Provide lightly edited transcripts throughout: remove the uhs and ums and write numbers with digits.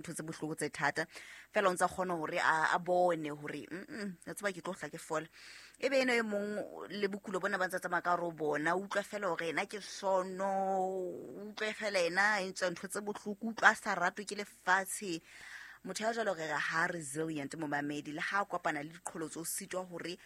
Ntho tse bohloko tse thata fela o ntse a kgona hore a bone hore ya tseba ke tlo hla ke fola. E be eno e mong le bokulo bona ba ntse tsamaya ka hare ho bona, o utlwa fela hore ena ke sono, o utlwe fela ena e ntse ntho tse bohloko, utlwa a sa ratwe ke lefatshe. Motho ya jwalo re re ha resilient momamedi, le ha a kopana le diqholotso o sitwa hore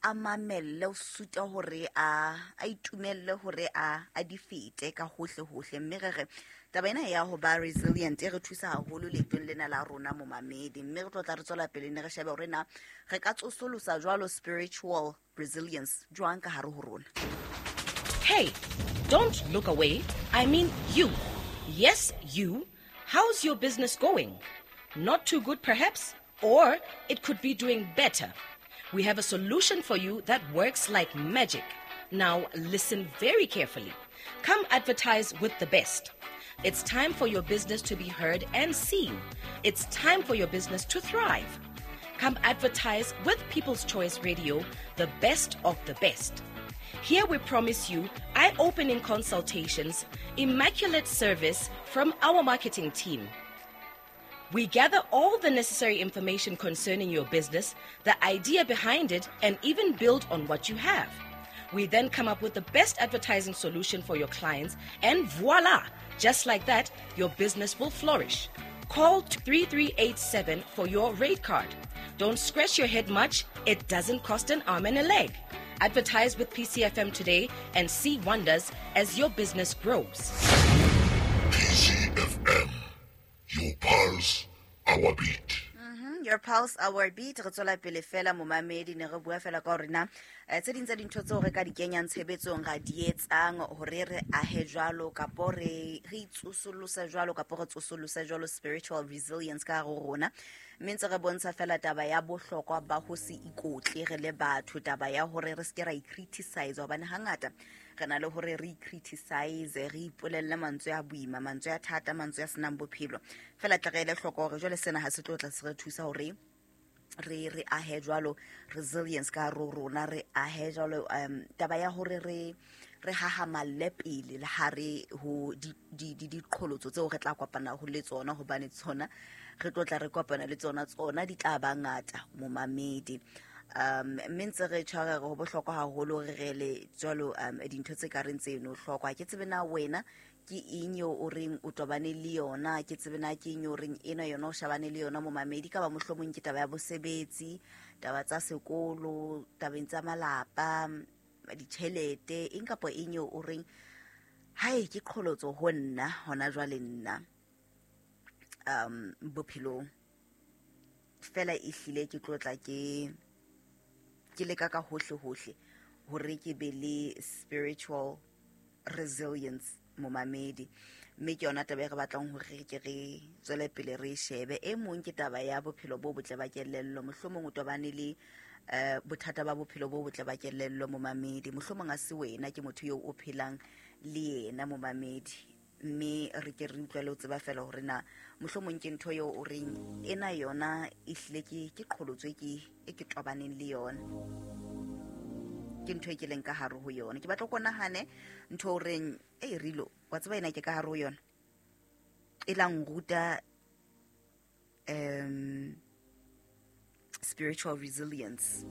a mamelle, o sitwa hore a itumelle hore a di fete ka hohle hohle. Mme re re taba ena ya ho ba resilient e re thusa haholo leetong lena la rona momamedi. Mme re tlo tla re tswela pele ne re shebe hore na re ka tsosolosa jwalo spiritual resilience jwang ka hare ho rona. Hey, don't look away. I mean you. Yes, you. How's your business going? Not too good perhaps? Or it could be doing better. We have a solution for you that works like magic. Now listen very carefully. Come advertise with the best. It's time for your business to be heard and seen. It's time for your business to thrive. Come advertise with People's Choice Radio, the best of the best. Here we promise you eye-opening consultations, immaculate service from our marketing team. We gather all the necessary information concerning your business, the idea behind it, and even build on what you have. We then come up with the best advertising solution for your clients, and voila! Just like that, your business will flourish. Call 3387 for your rate card. Don't scratch your head much, it doesn't cost an arm and a leg. Advertise with PCFM today and see wonders as your business grows. PCFM, your pulse, our beat. Your pulse, our beat. Re tswela pele fela momamedi, ne re bua fela ka hore na tse ding tsa dintho tseo re ka di kenyang tshebetsong ra di etsang hore re ahe jwalo kapo re itsosolose jwalo kapo re tsosolose jwalo spiritual resilience ka hare ho rona. Mme ntse re bontsha fela taba ya bohlokwa ba ho se ikotle re le batho, taba ya hore re se ke ra i-criticize, hobane hangata re na le hore re i-criticize, re ipolelle mantswe a boima, mantswe a thata, mantswe a senang bophelo. Fela tle re ele hloko hore jwale sena ha se tlo tla se re thusa hore re ahe jwalo resilience ka hare ho rona, re ahe jwalo taba ya hore re hahamalle pele le ha re ho diqholotso tseo re tla kopana ho le tsona, hobane tsona re tlo tla re kopana le tsona, tsona di tla ba ngata momamedi. Mme ntse re tshwara re ho bohlokwa haholo re re le jwalo dintho tse ka reng tseno hlokwa. Ke tsebe na wena ke eng eo o reng o tobane le yona, ke tsebe na ke eng eo o reng ena yona o shabane le yona momamedi, ka ba mohlomong ke taba ya bosebetsi, taba tsa sekolo, tabeng tsa malapa, ditjhelete, eng kapa eng eo o reng hae ke qholotso ho nna hona jwale nna bophelong. Fela e hlile ke tlo tla ke leka ka hohle hohle hore ke be le spiritual resilience momamedi. Mme ke yona taba e re batlang hore ke re tswele pele re shebe. E mong ke taba ya bophelo bo botle ba kelello, mohlomong o tobane le bothata ba bophelo bo botle ba kelello momamedi, mohlomong a se wena, ke motho eo o phelang le yena momamedi. Mme re ke re utlwe le ho tseba fela hore na mohlomong ke ntho eo o reng ena yona e hlile ke qholotso e ke tobaneng le yona, ke ntho e ke leng ka hare ho yona. Ke batla ko nahane ntho o reng e rilo wa tseba ena ke ka hare ho yona, e la nruta spiritual resilience.